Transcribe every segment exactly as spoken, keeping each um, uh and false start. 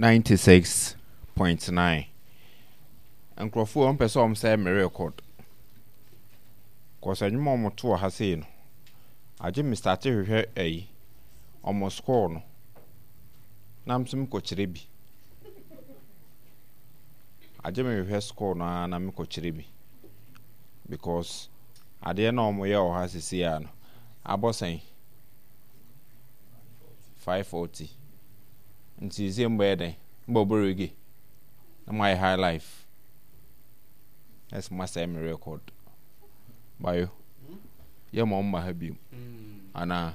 ninety six point nine. Nkurɔfoɔ wɔn pɛ sɛ wɔn sɛ me record. Kɔsɛ nnwom a wɔn to wɔ ha sei no, agye me start hwehwɛ ɛyi, wɔn score no, na nso mekɔkyerɛ bi. Agye me hwehwɛ score no ara na mekɔkyerɛ bi. Because adeɛ na wɔn yɛ wɔ ha sisi a no, abɔ sɛn? five forty. Nti sɛ mbɛyɛ dɛn? Mbɛbɔ reggae. Na mo ayɛ high life. Ɛsɛ mo asɛe me record. Bayo. Yɛ ma ɔmma ha biom. Anaa?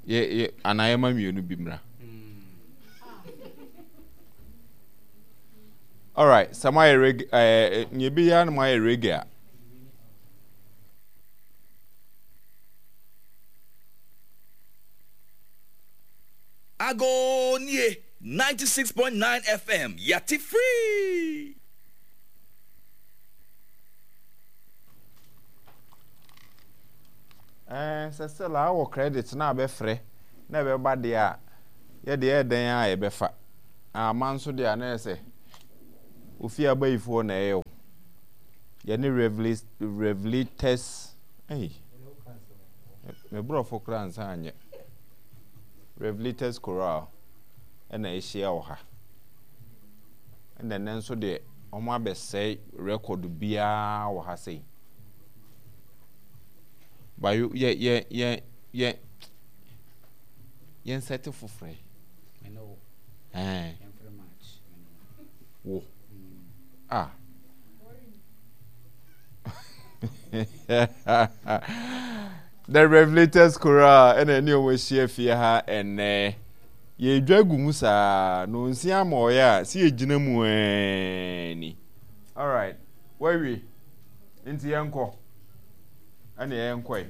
Yɛ yɛ anaa yɛ ma mmienu bi mmra. Alright, sɛ mo ayɛ reggae ɛɛ nea ebi yɛ na mo ayɛ reggae a. Agonie ninety six point nine F M, yate free. Ɛɛ sɛ still a wɔ credit na abɛfrɛ na ɛbɛba deɛ a, yɛ deɛ ɛyɛ dɛn a yɛbɛfa. Ama nso deɛ a na yɛ sɛ ofie abayifoɔ na ɛyɛ o. Yɛne Revelators, ɛyi, me borɔfo koraa nsa anyɛ. Revelators Chorale ɛna ahyia wɔ ha. Ɛna ɛnɛ nso deɛ wɔn abɛsɛe record biara wɔ ha sei. Bayo yɛ yɛ yɛ yɛ yɛn sɛte foforɔ yi. Ɛɛ wo ah. The Revelators Chorale ɛna ɛne wɔn ahyia fie ha ɛnɛ. Yɛdwa gu mu saa na onsi ama ɔyɛ a si yɛgyina mu ɛɛ ni. Alright, wawie. Nti yɛnkɔ. Ɛne yɛnkɔe.